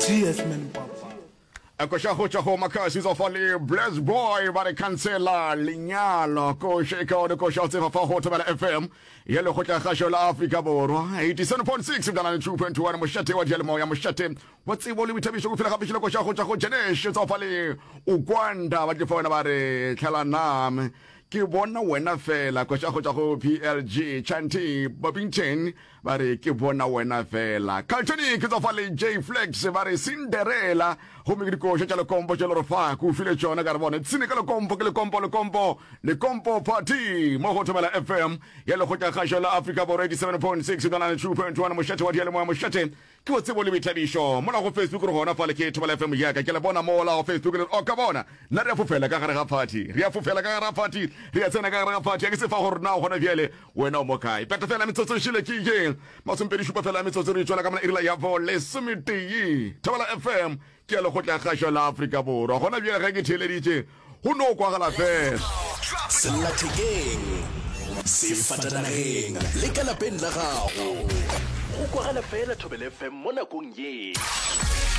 TS man papa. Koša go tšwa go Makhasi tsa fa le Bless Boy ba re khansela lenyalo koša e kaone koša o tseba fa go Thobela FM ya lekgotla kgašo la Afrika Borwa 87.6 bjana le 2.1 mošate wa diyalemoya mošate wa tsebo le boithabišo go fela gape šile koša go tšwa go Janesh tsa fa le Ukwanda ba tle fa wena ba re tlhela name ke bona wena fela koša go tšwa go PLG Chanty Bobington Ba re ke bona wena fela. Caltonic tsa fa le J Flex ba re Cinderella gomme ke dikoša tša lekompo tše le re fa ke o file tšona ka re bone tsene ka lekompo ke lekompo lekompo lekompo party mo go Thobela FM ya lekgotla kgašo la Afrika Borwa 87.6 nalane 2.1 mošate wa diyalemoya mošate ke wa tsebo le boithabišo mola go Facebook re gona fale ke Thobela FM yaka ke le bona mola go Facebook le re o ka bona nna re a fofela ka gare ga party re a fofela ka gare ga party re a tsena ka gare ga party a ke se fa gore na gona bjale Wena o mo kae? Peta fela metsotso e šele ke ye masomepedi šupa fela metsotso re tšwela ka mola irila ya bo lesometee. Thobela FM ke ya lekgotla kgašo la Afrika Borwa. Gona bjale ge ke theeleditše go no kwagala fela. Sellathekeng, sefatanageng le ka lapeng la gago. Go kwagala fela Thobela FM mo nakong ye.